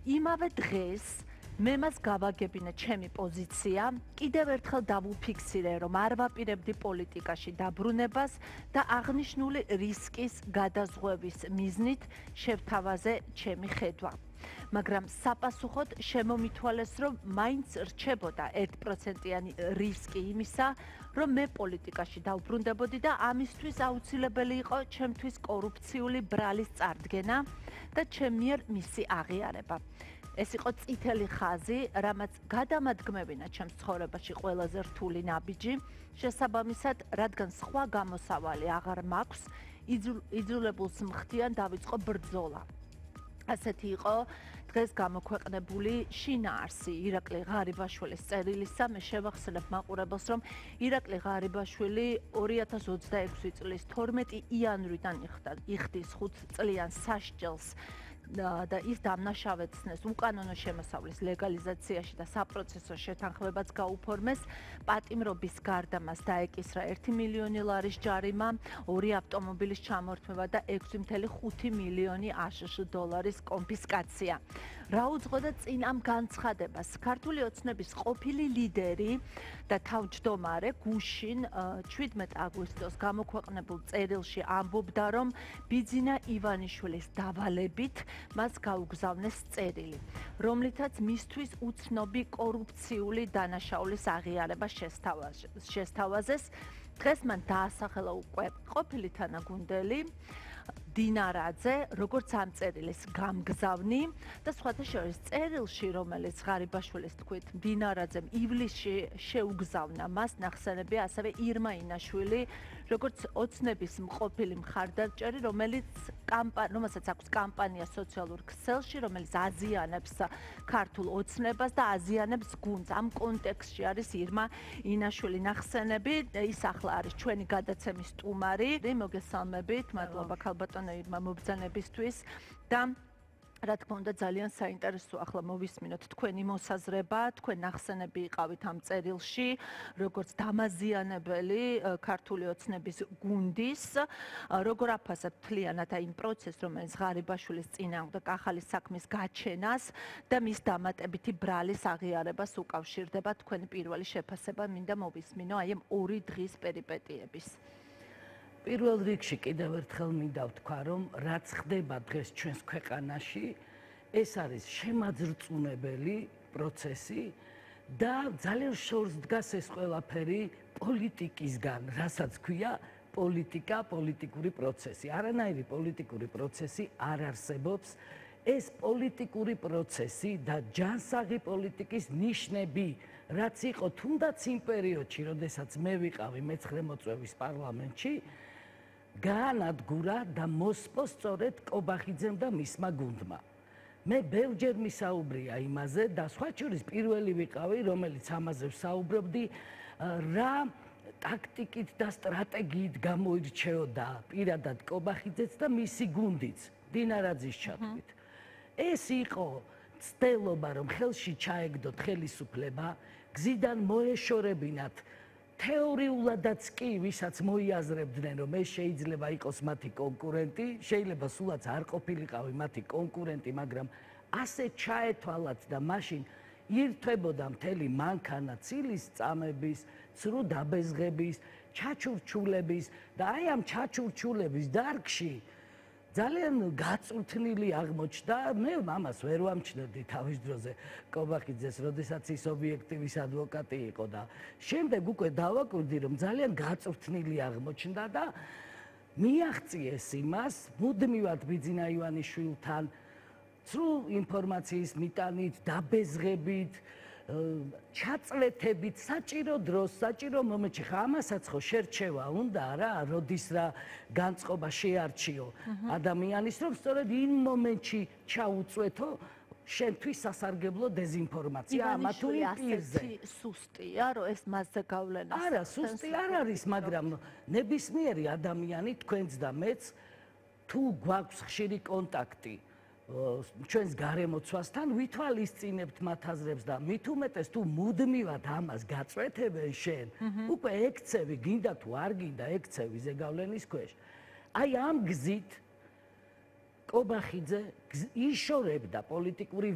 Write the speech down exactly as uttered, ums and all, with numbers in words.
იმავე დღეს მე მას გავაგებინა ჩემი პოზიცია, კიდევ ერთხელ დავუფიქსირე, რომ არ ვაპირებდი პოლიტიკაში დაბრუნებას და აღნიშნული რისკის გადაზღვევის მიზნით შევთავაზე ჩემი ხედვა. მაგრამ საპასუხოდ შემომითვალეს, რომ მაინც რჩებოდა ერთპროცენტიანი რისკი იმისა, რომ მე პოლიტიკაში დავბრუნდებოდი და ამისთვის აუცილებელი იყო ჩემთვის კორუფციული ბრალის წარდგენა და ჩემ მიერ მისი აღიარება. ეს იყო წითელი ხაზი, რამაც გადამადგმებინა ჩემს ცხოვრებაში ყველაზე რთული ნაბიჯი, შესაბამისად, რადგან სხვა გამოსავალი აღარ მაქვს, იძულებულს მხდიან დავიწყო ბრძოლა. ასეთი იყო დღეს გამოქვეყნებული შინაარსი ირაკლი ღარიბაშვილის წერილისა. მე შევახსენებ მაყურებელს, რომ ირაკლი ღარიბაშვილი ორი ათას ოცდაექვსი წლის თორმეტი იანვრიდან იხდის ხუთ წლიან სასჯელს და ის დამნაშავეცნეს უკანონო შემოსავლის ლეგალიზაციაში და საპროცესო შეთანხმებაც გაუფორმეს. პატიმრობის გარდა მას დაეკისრა ერთი მილიონი ლარის ჯარიმა, ორი ავტომობილის ჩამორთმევა და ექვსი მცდე ხუთი მილიონი აშშ დოლარის კონფისკაცია. რა უძღოდა წინ ამ განცხადებას? ქართული ოცნების ყოფილი ლიდერი და თავმჯდომარე გუშინ შვიდმეტ აგვისტოს გამოქვეყნებულ წერილში ამბობდა, რომ ბიძინა ივანიშვილის დავალებით მას გაუგზავნეს წერილი, რომლითაც მისთვის უცნობი კორუფციული დანაშაულის აღიარება შესთავაზეს. დღეს მან დაასახელა უკვე ყოფილი თანაგუნდელი დინარაძე, როგორც ამ წერილის გამგზავნი და სხვათა შორის წერილში, რომელიც ღარიბაშვილის თქმით დინარაძემ ივლისში შეუგზავნა მას, ნახსენებია ასევე ირმა ინაშვილი, როგორც ოცნების მყოფილი მხარდამჭერი, რომელიც რომელსაც აქვს კამპანია სოციალურ ქსელში, რომელიც აზიანებს ქართულ ოცნებას და აზიანებს გუნდს. ამ კონტექსტში არის ირმა ინაშვილი ნახსენები, ის ახლა არის ჩვენი გადაცემის სტუმარი. მოგესალმებით, მადლობა ქალბატონო ირმა მობრძანებისთვის და რა თქმა უნდა ძალიან საინტერესოა ახლა მოვისმინოთ თქვენი მოსაზრება, თქვენ ნახსენები იყავით ამ წერილში, როგორც დამაზიანებელი ქართული ოცნების გუნდის, როგორ აფასებთ მთლიანად იმ პროცესს, რომელიც ღარიბაშვილის წინააღმდეგ ახალი საქმის გაჩენას და მის დამატებითი ბრალის აღიარებას უკავშირდება. თქვენი პირველი შეფასება მინდა მოვისმინო აი ამ ორი დღის პერიპეტიების. პირველ რიგში კიდევ ერთხელ მინდა ვთქვა, რომ რაც ხდება დღეს ჩვენს ქვეყანაში, ეს არის შემაძრწუნებელი პროცესი და ძალიან შორს დგას ეს ყველაფერი პოლიტიკისგან, რასაც ქვია პოლიტიკა, პოლიტიკური პროცესი. არანაირი პოლიტიკური პროცესი არ არსებობს. ეს პოლიტიკური პროცესი და ჯანსაღი პოლიტიკის ნიშნები, რაც იყო თუნდაც იმ პერიოდში, როდესაც მე ვიყავი მეცხრე მოწვევის პარლამენტში, გაანადგურა და მოსპო სწორედ კობახიძემ და მისმა გუნდმა. მე ბევრჯერ მისაუბრია იმაზე და სხვა შორის პირველი ვიყავი, რომელიც ამაზე ვსაუბრობდი, რა ტაქტიკით და სტრატეგიით გამოირჩეოდა პირადად კობახიძეც და მისი გუნდიც დინარაძის ჩათვლით. ეს იყო ცდელობა, რომ ხელში ჩაეგდოთ ხელისუფლება, გზიდან მოეშორებინათ თეორიულადაც კი, ვისაც მოიაზრებდნენ, რომ ეს შეიძლება იყოს მათი კონკურენტი, შეიძლება სულაც არ ყოფილიყავი მათი კონკურენტი, მაგრამ ასე ჩაეთვალათ და მაშინ ირთვებოდა მთელი მანქანა ცილის წამების, ცრუ დაბეზღების, ჩაჩურჩულების და აი ამ ჩაჩურჩულების დარგში ძალიან გაწვრთნილი აღმოჩნდა. მე ამას ვერ ვამჩნევდი თავის დროზე კობახიძეს, როდესაც ის ობიექტივის ადვოკატი იყო და შემდეგ უკვე დავაკვირდი, რომ ძალიან გაწვრთნილი აღმოჩნდა და მიაღწიეს იმას მუდმივად ბიძინა ივანიშვილთან ცრუ ინფორმაციის მიტანით, დაბეზღებით, ჩაწლეთებით, საჭირო დროს, საჭირო მომენტში. ხა ამასაც ხო შერჩევა უნდა რა, როდის რა განწყობა შეარჩიო ადამიანის, რომ სწორედ იმ მომენტში ჩაუწვეთო შენთვის სასარგებლო დეзинფორმაცია ამა თუ იმ პირზე. სუსტია, რომ ეს მასზე გავლენას. არა, სუსტი არ არის, მაგრამ ნებისმიერი ადამიანი, თქვენც და მეც, თუ გვაქვს ხშირი კონტაქტი ჩვენს გარემოცვასთან, ვითვალისწინებთ მათ აზრებს და მით უმეტეს თუ მუდმივად ამას გაწვეთებენ შენ, უკვე ექცევი, გინდა თუ არ გინდა ექცევი ზეგავლენის ქვეშ. აი ამ გზით კობახიძე იშორებდა პოლიტიკური